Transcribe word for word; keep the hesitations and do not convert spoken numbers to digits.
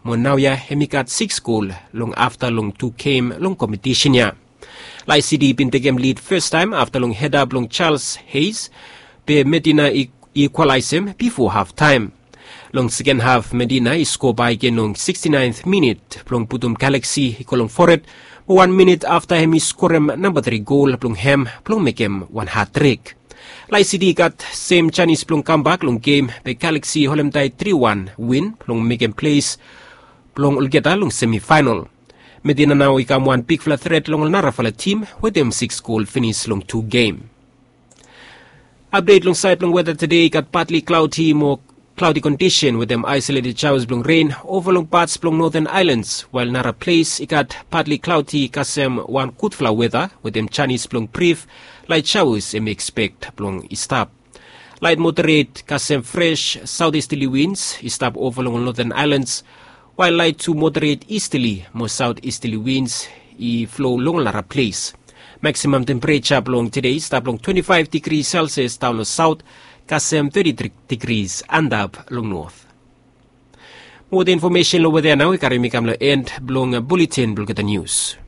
Mo naoia hem i gat siks gol long afta long tu gem long kompetisen ya. Lae City i bin tekem lid fastaem afta long heda blong Charles Hayes, be Medina i ikwalaesem bifo haftaem. Long seken haf Medina i skoa bae gen long sikstinaen minit blong putum Galaksi i go long fored, mo wan minit afta hem i skorem namba tri gol blong hem blong mekem wan hatrik. Lae City i gat sem janis blong kambak long gem, be Galaksi i holemdae tri wan win blong mekem ples blong olgeta long semifaenol. Medina nao i kam wan bigfala tret long ol narafala tim wetem siks gol finis long tu gem. Apdet long saed blong weta tede i gat patli klaodi mo klaodi kondisen wetem aesoleted jaos blong ren ova long pats blong Noten Aelans, wael nara ples i gat patli klaodi kasem wan gudfala weta wetem janis blong brif lae jaos hem i ekspek blong i stap. Laet moderet kasem fres saotistali wins i stap ova long ol Noten Aelans, wael laet tu moderet istali mo saotistali wins i flo long ol nara ples. Maksimam tempereja blong tede i stap long twenti faef digri selsias daon long saot, kasem teti digris antap long not. Mo weta infomesen long weta ya nao i karim mi kam long en blong buletin blong olgeta nius.